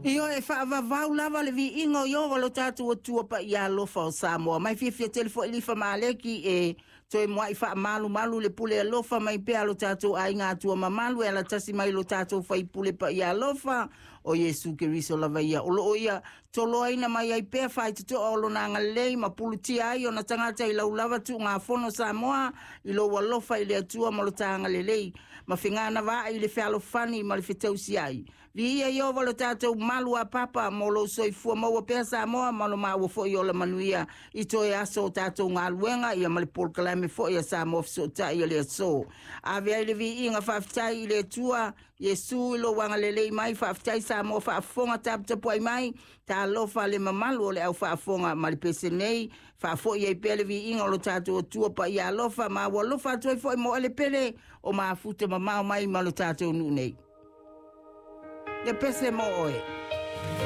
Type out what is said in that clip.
Ioe, e faavavau lava le viiga o Ieova lo tatou Atua paia alofa o Samoa. Mai fiafia tele foi Lifa ma Aleki e toe muai faamalumalu le pule alofa mai pea lo tatou aiga Atua mamalu e alatasi mai lo tatou faipule paia alofa o Iesu Keriso lava ia. O loo ia toloaina mai ai pea faitotoa o lona agalelei ma pulutia ai ona tagata i lau lava tuugafono Samoa i lou alofa i le Atua ma lo ta agalelei ma fegana vaai i le fealofani ma le fetausiai. Viia Ieova lo tatou malu a papa mo lou soifua maua pea Samoa ma lo maua foi ola manuia i toe aso o tatou galuega ia ma le polokalame foi a Samoa Fesootai o le aso. Ave ai le viiga faafetai i le Atua Iesu i lou agalelei mai. Faafetai Samoa faafofoga taputapuai mai. Talofa le mamalu o le au faafofoga ma le pese nei. Faafoi ai pea le viiga o lo tatou Atua paia alofa ma ua alofa atu ai foi mo ele pele o mafuta mamao mai ma lo tatou nuu nei. Le pese mo oe.